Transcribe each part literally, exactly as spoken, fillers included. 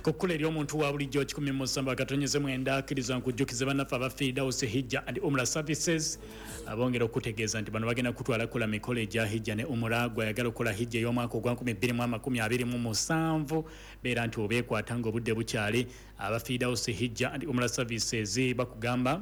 Kukkula eri omuntu wa bulijjo kikumi mu musanvu akatonyeze mwenda. Akkiriza nkujjukize bannaffe aba Firdausi Hijja and Umra Services, abongera okutegeeza nti bano bagenda kutwala kukola mikolo egya hijja ne umura. Gwayagala okukola hijja ey'omwaka ogwa nkumi bbiri mu amakumi abiri mu musanvu, beera nti obeekwata ng'obudde bukyali. Aba Firdausi Hijja and Umra Services bakugamba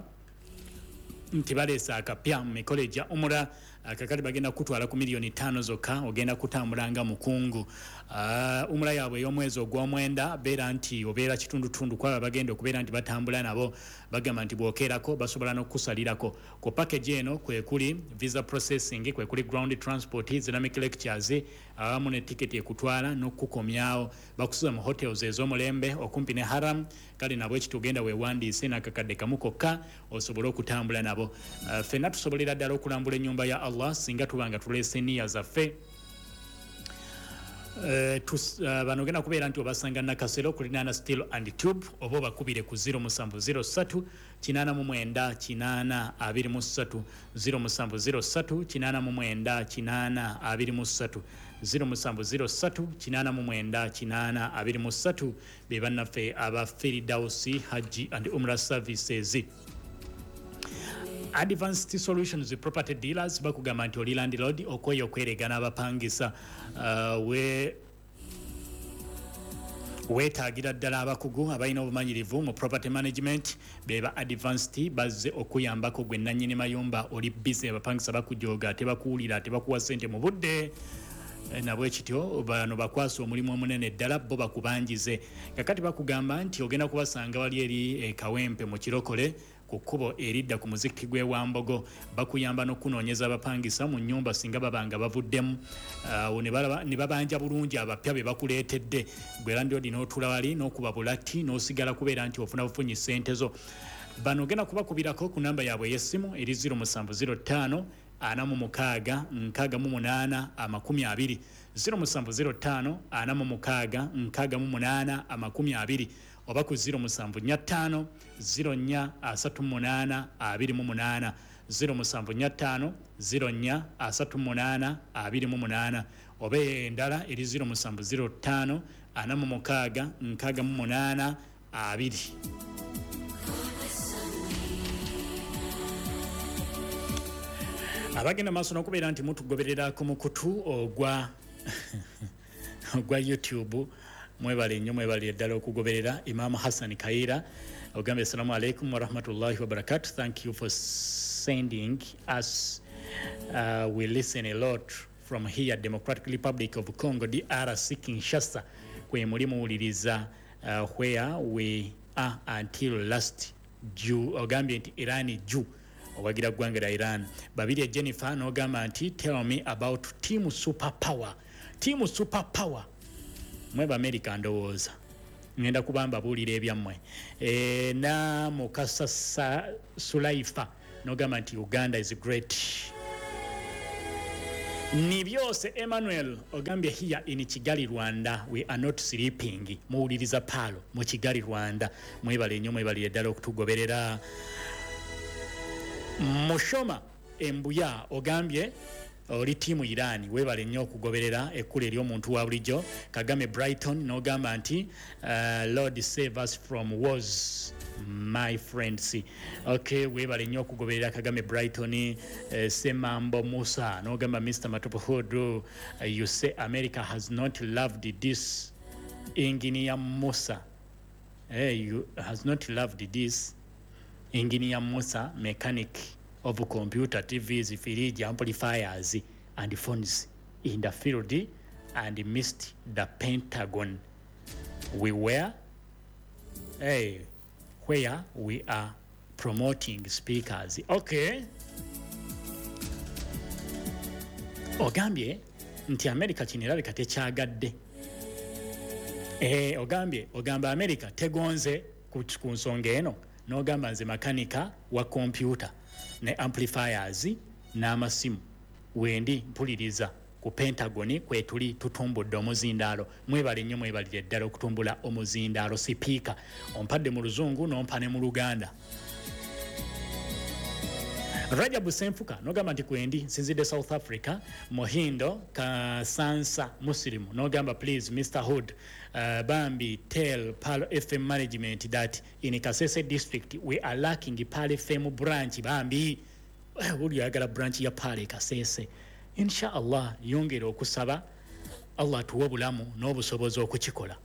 nti baleese akapya mu mikolo egya umura. Kakati bagenda kutwala ku miliyoni ttaano zokka, ogenda kutambula nga mukungu. uh, umura yaabwe ey'omwezi ogw'omwenda, beera nti obeera kitundutundu kwaba bagenda okubeera nti batambula nabo. Bagamba nti bw'okeerako basobola n'okukusalirako ku package eno. Kwekuli visa processing, kwekuli ground transport, Islamic lectures, awamu ne tiketi ekutwala n'okukukomyawo. Bakusuza mu hotels ez'omulembe okumpi ne haram. Kale nabwe ekityo ogenda weewandiise n'akakadde kamu kokka osobole okutambula nabo. uh, ffenna tusobolera ddala okulambula ennyumba ya Allah singa tuba nga tuleese niya zaffe. Uh, uh, bano ogenda kubeera nti obasanga Nakasero kulinaana Steel and Tube, oba obakubire ku zero musanvu zero ssatu kinaana mu mwenda kinaana abiri mu ssatu, zero musanvu zero ssatu kinaana mu mwenda kinaana abiri mu ssatu, zero musanvu zero ssatu kinaana mu mwenda kinaana abiri mu ssatu. Be bannaffe aba Firdausi Hajji and Umra Services. Advanced Solutions Property Dealers bakugamba nti oli landlord okweyo okweregana abapangisa, uh, we weetaagira ddala abakugu abalina obumanyirivu mu property management. Beba Advanced bazze okuyambako gwe nannyini mayumba. Oli busy, abapangisa bakujooga, tebakuwulira, tebakuwa ssente mu budde. Eh, nabwe kityo bano bakwasa omulimu omunene ddala, bo bakubanjize. Kakati bakugamba nti ogenda kubasanga wali eri e Kawempe mu Kirokole, ku kkubo eridda ku muzikiti gw'e Wambogo. Bakuyamba n'okunoonyeza abapangisa mu nnyumba singa babanga bavuddemu awo, ne balaba- ne babanja bulungi abapya be bakuleetedde. Gwe landlord n'otuula wali n'okuba bulati n'osigala kubeera nti ofuna bufunyi ssente zo. Bano ogenda kubakubirako ku namba yaabwe ey'essimu eri zero musanvu zero ttaano ana mu mukaaga nkaaga mu munaana amakumi abiri, zero musanvu zero ttaano ana mu mukaaga nkaaga mu munaana amakumi abiri, oba ku zero musanvu nnya ttaano zero nnya asatu mu munaana abiri mu munaana, zero musanvu nnya ttaano zero nnya asatu mu munaana abiri mu munaana, oba endala eri zero musanvu zero ttaano ana mu mukaaga nkaaga mu munaana abiri. Abagenda maaso n'okubeera nti mutugoberera ku mukutu ogwa ogwa YouTube, mwebale nnyo, mwebalire ddala okugoberera. Imamu Hassan Kaira ogambye, "Assalamu alaikum warahmatullahi wabarakatu. Thank you for sending us. uh, we listen a lot from here, Democratic Republic of Congo, D R C, Kinshasa, kwe muli muwuliriza, uh, where we are until last Jew." Ogambye nti Iran jew, owagira ggwanga lya Iran. Babiri Jennifer n'ogamba nti, "Tell me about Team Super Power." Team Super Power mweba America, ndowooza ngenda kuba mbabuulira ebyammwe. e, na Mukasa Sa- sulaifa n'ogamba nti, "Uganda is great." Ni byose Emmanuel ogambye, "Here in Kigali, Rwanda, we are not sleeping." Muwuliriza paalo mu Kigali, Rwanda. Mwebale nnyo, mwebalire ddala okutugoberera. Mushoma Embuya ogambye oli tiimu Iran, weebale nnyo okugoberera ekkula ery'omuntu wa bulijjo. Kagame Brighton n'ogamba nti, uh, "Lord save us from wars, my friends." Okay, weebale nnyo okugoberera Kagame Brighton. uh, semambo Musa n'ogamba, "Mister Matopohood, uh, you say America has not loved this engineer Musa." Hey, you has not loved this engineer Musa, mechanic of computer, T Vs, fridge, amplifiers and phones in the field, and missed the Pentagon. We were, hey, where we are promoting speakers. Okay. Ogambye nti America kino erabika tekyagadde. Eh, ogambye ogamba America tegonze ku, ku nsonga eno. N'ogamba nze makanika wa kompyuta ne amplifiers n'amasimu, wendi mpuliriza ku Pentagon kwetuli tutumbudde omuzindaalo. Mwebale nnyo, mwebalire ddala okutumbula omuzindaalo. Sipiika ompadde mu Luzungu n'ompa ne mu Luganda. Rajabu Senfuka nogamba nti kwendi nsinzidde South Africa. Mohindo Kasansa Muslimu nogamba please Mister Hood, uh, Bambi, tell Pearl F M management that in Kasese district we are lacking Pearl F M branch. Bambi uli ayagala branch ya Pearl Kasese. Inshallah yongera okusaba Allah tuwe obulamu n'obusobozi okukikola,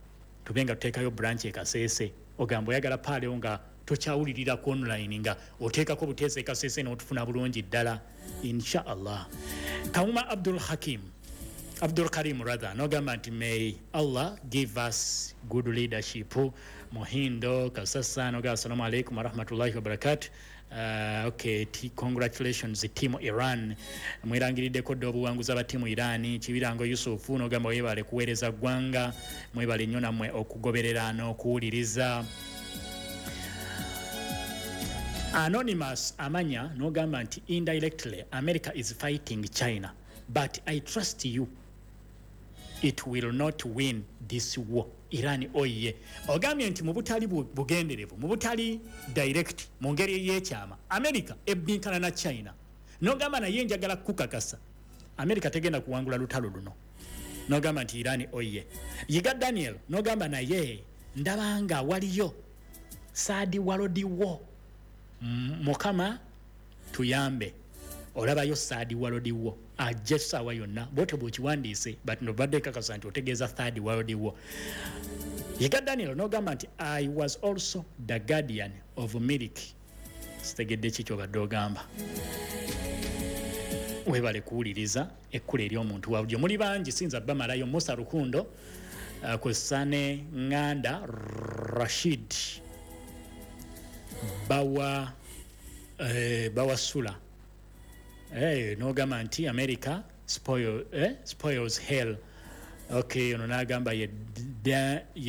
tubenga tuteekayo branch e Kasese. Ogamba oyagala Pearl nga tokyawulirira ku online, nga oteekako buteesa e Kasese n'otufuna bulungi ddala inshallah. Kawuma Abdul Hakim, Abdul Karim rather, nogamba nti may Allah give us good leadership. Muhindo Kasasa nogamba assalamu alaikum warahmatullahi wabarakatuh. Uh, okay, congratulations team Iran, mwirangiriddeko dda obuwanguzi aba tiimu Iran. Kibirango Yusufu nogamba webale kuweereza ggwanga, mwebale nnyo nammwe okugoberera n'okuwuliriza. Anonymous Amanya nogamba nti indirectly America is fighting China, but I trust you, it will not win this war. Iran oye. Ogambye nti mu butali bugenderevu, mu butali direct, mu ngeri ey'ekyama, America ebbinkana na China. Nogamba naye njagala kukakasa America tegenda kuwangula lutalo luno. Nogamba nti Iran oye. Yiga Daniel nogamba naye ndabanga waliyo third world war. Mukama tuyambe, olabayo third world war ajja essaawa yonna. Bwotyo bw'okiwandiise, but nobadde kakasa nti otegeeza third world war. Yiga Daniel nogamba nti I was also the guardian of milk. Sitegedde ki ky'obadde ogamba. Webale kuwuliriza ekkula ery'omuntu wa bulijjo. Muli bangi sinza bamalayo. Musa Rukundo, uh, Kusane Nganda Rashid Bawa, eh, Bawasula eh, nogamba nti America spoil, eh, spoils hell. Okay, ono nagamba ye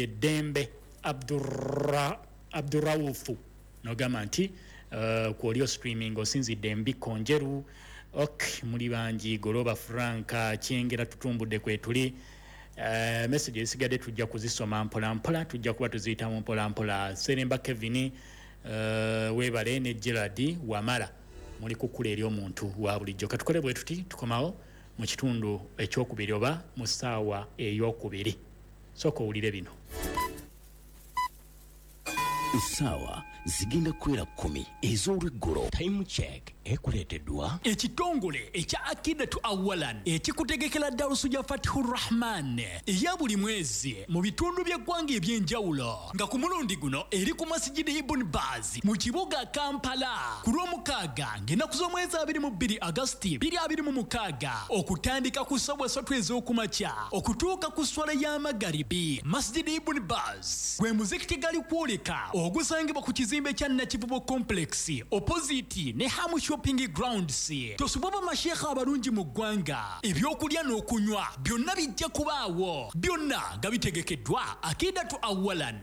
Dembe Abdurra, Abdurraufu nogamba nti uh, kwolio streaming osinzidde embikko njeru. Ok, muli bangi. Goloba Franka Kyengera tutumbudde kwetuli. Uh, message esigadde tujja kuzisoma mpola mpola, tujja kuba tuziyitamu mpola mpola. Seremba Kevin, uh, webale ne Gerard Wamala, muli kukula eri omuntu wa bulijjo. Katukole bwe tuti tukomawo mu kitundu ekyokubiri oba mu ssaawa eyokubiri. Sooka owulire bino. Essaawa zigenda kuwera kkumi ez'olweggulo. Time check ekuleeteddwa ekitongole ekya Akidatu Awalan ekikutegekera darusu ya Fathur Rahman eya buli mwezi mu bitundu by'eggwanga eby'enjawulo, nga ku mulundi guno eri ku Masjid Ibn Baz mu kibuga Kampala ku Lwomukaaga ng'ennaku z'omwezi abiri mu bbiri Agasti bbiri abiri mu mukaaga okutandika ku ssaawa ssatu ez'okumakya okutuuka ku sswala y'amagaribi. Masjid Ibn Baz gwe muzikiti gali kwoleka ogusangibwa ku kizimbe kya Nakivubo Complex opposite ne Hamu Shopping Grounds. Tosubwa bamashekha abalungi mu ggwanga, ebyokulya n'okunywa byonna bijja kubaawo, byonna nga bitegekeddwa Akidatu Awalan.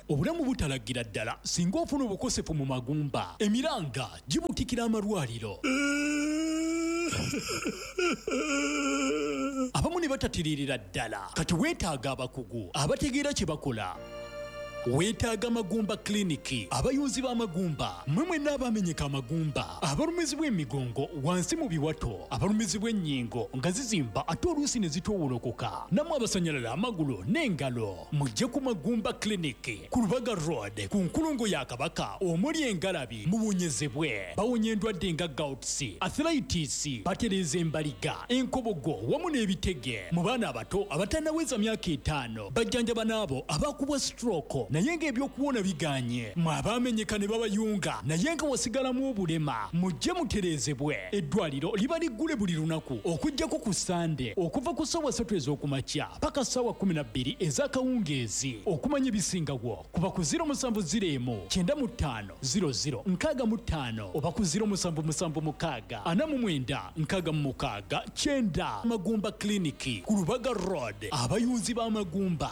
Obulamu butalagira ddala singa ofuna obukosefu mu magumba, emiranga gibutikira amalwaliro, abamu ne batatiririra ddala. Kati weetaaga abakugu abategeera kye bakola. Weetaaga Magumba Clinic, abayunzi b'amagumba, mmwe mwenna abamenyeka amagumba, abalumizibwa emigongo wansi mu biwato, abalumizibwa ennyingo nga zizimba ate oluusi ne zitoowolokoka, nammwe abasanyalala amagulu n'engalo, mujje ku Magumba Clinic ku Lubaga Road ku nkulungo ya Kabaka omuli engalabi, muwonyezebwe. Bawonya endwadde nga gouts, arthritis, batereeza embaliga, enkobogo wamu n'ebitege. Mu baana abato abatannaweza myaka etaano, bajjanjaba n'abo abakubwa stroke naye ng'ebyokuwona biganye. Mwe abaamenyeka ne babayunga naye nga wasigalamu obulema, mujje mutereezebwe. Eddwaliro liba liggule buli lunaku okuggyako ku Sande okuva ku ssaawa ssatu ez'okumakya paka ssaawa kkumi na bbiri ez'akawungeezi. Okumanya ebisingawo kuba ku ziro musanvu ziro emu kyenda mu ttaano ziro ziro nkaaga mu ttaano oba ku ziro musanvu musanvu mukaaga ana mu mwenda nkaaga mu mukaaga kyenda. Magumba Clinic ku Lubaga Road, abayunzi b'amagumba.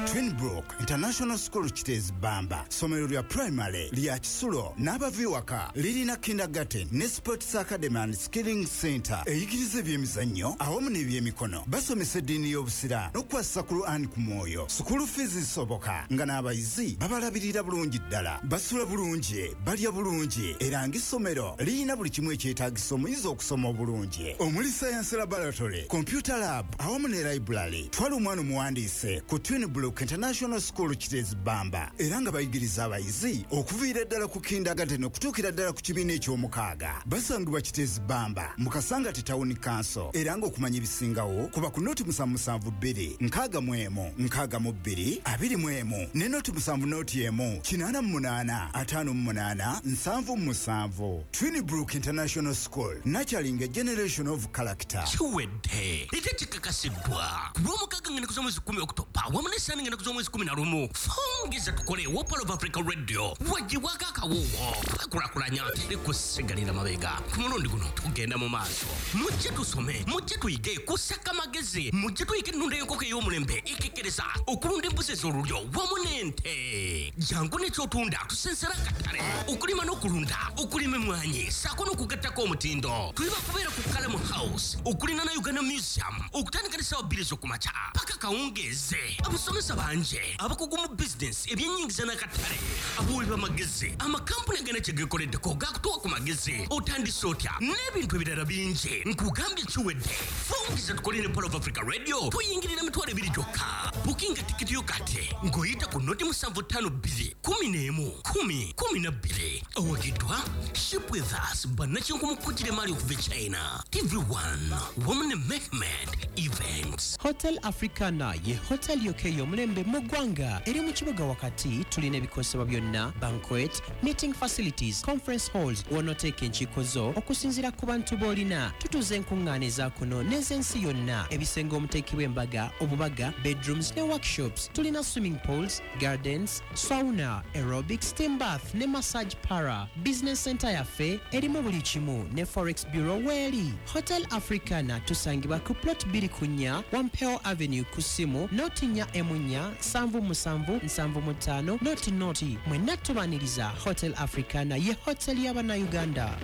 Twinbrook International School Kiteezi Bamba ssomero lya primary lya kisulo n'abava ewaka. Lirina kindergarten ne sports academy and skilling center eyigiriza ebyemizannyo awamu n'ebyemikono. Basomesa eddiini y'Obusiraamu n'okukwasisa Quran ku mwoyo. School fees zisoboka nga n'abayizi babalabirira bulungi ddala, basula bulungi, balya bulungi, era ng'essomero lirina buli kimu ekyetaagisa omuyizi okusoma obulungi, omuli science laboratory, computer lab awamu ne library. Twala omwana omuwandiise ku Twin Brook International School Kiteezi Bamba, era nga bayigiriza abayizi okuviira ddala ku kindergarten okutuukira ddala ku kibiina eky'omukaaga. Basangibwa Kiteezi Bamba mu Kasangati Town Council, era ng'okumanya ebisingawo kuba ku noti musanvu musanvu bbiri nkaaga mu emu nkaaga mu bbiri abiri mu emu ne noti musanvu noti emu kinaana mu munaana ataano mu munaana nsanvu mu musanvu. Twin Brook International School, nurturing a generation of character. Kiwedde ate kikakasiddwa ku Lwomukaaga ng'ennaku z'omwezi kumi Okutoba wamu n'essaani ng'ennaku z'omwezi kumi na lumu. Fungisa tukole wa Pearl of Africa Radio wagibwako akawuwo twekulakulanya teri kusigalira mabega. Ku mulundi guno tugenda mu maaso. Mujje tusome, mujje tuyige kusaka magezi, mujje tuyige ennunda y'enkoko ey'omulembe ekekkereza okulunda embuzi ez'olulyo wamu n'ente. Jangu n'ekyotunda tusensera akatale, okulima n'okulunda, okulima emmwanyi ssaako n'okugattako omutindo. Tuli bakubeera ku Kalamu House okulina na Uganda Museum okutandika n'essaawa bbiri ez'okumakya paka kawungeeze. Abasomesa bangi abakugu mu bizinesi, ebyennyingiza n'akatale, abawi b'amagezi, amakampuni agana kye geekoleddeko gakutuwa ku magezi, otandise otya n'ebintu ebirala bingi. Nkugambye kiwedde. Fungisa tukole ne Pearl of Africa Radio tuyingirira mitwalo ebiri gyokka. Bukinga tikiti yo kati ng'oyita ku noti musanvu ttaano bbiri kumi n'emu kumi kumi na bbiri. Owagiddwa Ship With Us, bannakinku kugira emaali okuva e China, T V one wamu ne Mehmed Events. Hotel Africana ye hotel yokka ey'omulembe mu ggwanga. Eri mu kibuga wakati. Tulina ebikozesebwa byonna, banquet, meeting facilities, conference halls w'onooteeka enkiiko zo okusinziira ku bantu b'olina. Tutuuza enkuŋŋaana eza kuno n'ez'ensi yonna, ebisenge omuteekebwa embaga, obubaga, bedrooms ne workshops. Tulina swimming pools, gardens, sauna, aerobic, steam bath ne massage parlour. Business center yaffe erimu buli kimu ne forex bureau weeri. Hotel Africana tusangibwa ku plot bbiri ku nnya Wampeo Avenue, ku ssimu noti nnya emu nnya nsanvu musanvu nsanvu mu ttaano noti noti. Mwenna tubaniriza. Hotel Africana ye hotel y'Abannayuganda.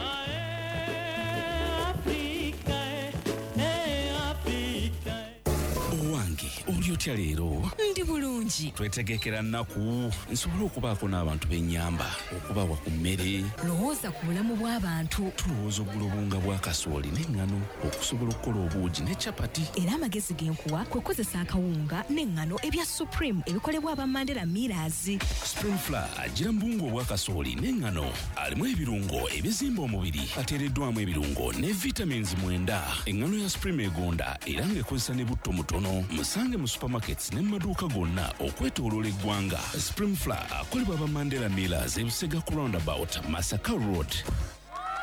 Owange, oli otya leero? Ndi bulungi. Twetegekera nnaku nsobole okubaako n'abantu b'ennyamba okubawa ku mmere. Lowooza ku bulamu bw'abantu. Tulowooza ogula obuwunga bwa kasooli n'eŋŋano okusobola okukola obuugi ne capati. Era amagezi ge nkuwa kwe kukozesa akawunga n'eŋŋano ebya Supreme ebikolebwa aba Mandela Millers. Supreme Flour agira mu buwunga obwa kasooli n'eŋŋano, alimu ebirungo ebizimba omubiri, ateereddwamu ebirungo ne vitamins mwenda. Eŋŋano ya Supreme egonda era ng'ekozesa ne butto mutono. Musange mu supermarkets ne mu maduuka gonna okwetooloola eggwanga. Supreme Flour akolebwa aba Mandela Millers, Ebusega ku roundabout, Masaka Road.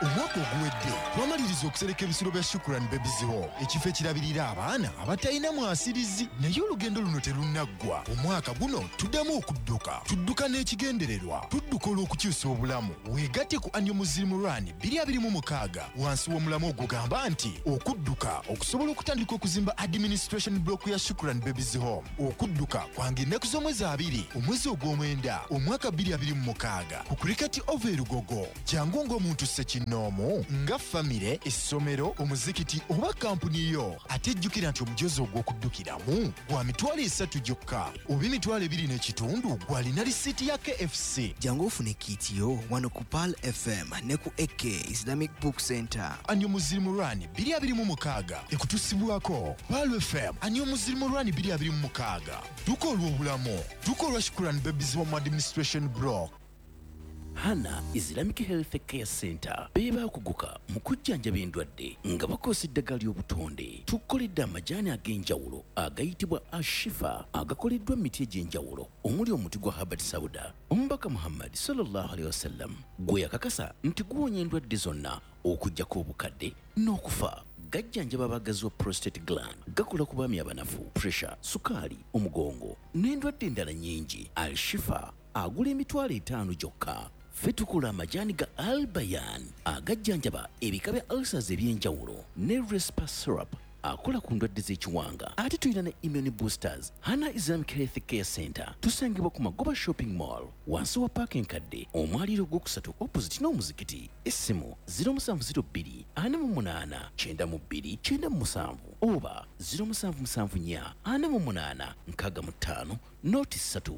Omwaka oguwedde twamaliriza okusereka ebisulo bya Shukuran Babies Home, ekifo ekirabirira abaana abatalina mwasirizi. Naye olugendo luno terunnaggwa. Omwaka guno tuddamu okudduka. Tudduka n'ekigendererwa, tudduka olw'okukyusa obulamu. Weegatte ku Annual Muslim Run twenty twenty-six wansi w'omulamwa ogugamba nti okudduka okusobola okutandika okuzimba administration block ya Shukuran Babies Home. Okudduka kwange ennaku z'omwezi abiri omwezi ogw'omwenda omwaka twenty twenty-six ku Cricket Oval e Lugogo. Jangu ng'omuntu ssekinnoomu, nga famire, essomero, omuzikiti oba kampuni yo. Ate jjukira nti omujoozi ogw'okuddukiramu gwa mitwalo esatu gyokka oba emitwalo ebiri n'ekitundu gw'alina risiiti ya K F C. Jangu ofune kit yo wano ku Pearl F M ne ku A K Islamic Book Center. Annual Muslim Run twenty twenty-six ekutusibwako Pearl F M. Annual Muslim Run twenty twenty-six, dduka olw'obulamu, dduka olwa Shukuran Babies Home Administration Block. Hana Islamic Health Care Center be baakuguka mu kujjanjaba endwadde nga bakozesa eddagala ly'obutonde. Tukoledde amajaani ag'enjawulo agayitibwa Ashifa, agakoleddwa mu miti egy'enjawulo omuli omuti gwa Habbat Sauda, omubaka Muhammad sallallahu alaihi wasallam gwe yakakasa nti guwonya endwadde zonna okuggyako obukadde n'okufa. Gajjanjaba abagazi wa prostate gland, gakola ku baami abanafu, pressure, sukaali, omugongo n'endwadde endala nnyingi. Alshifa agula emitwalo etaano gyokka. Ffe tukola amajaani ga Albayan agajjanjaba ebika bya ulcers eby'enjawulo ne Respa syrup. Akola ku ndwadde z'ekiwanga. Ate tulina ne immune boosters. Hana Islamic Health Care Center tusangibwa ku Magoba Shopping Mall, wansi wa paaka enkadde, omwaliiro ogwokusatu, opposite n'omuzikiti. Essimu zero musanvu zero bbiri ana mu munaana kyenda mu bbiri kyenda mu musanvu oba zero musanvu musanvu nnya ana mu munaana nkaaga mu ttaano noti ssatu.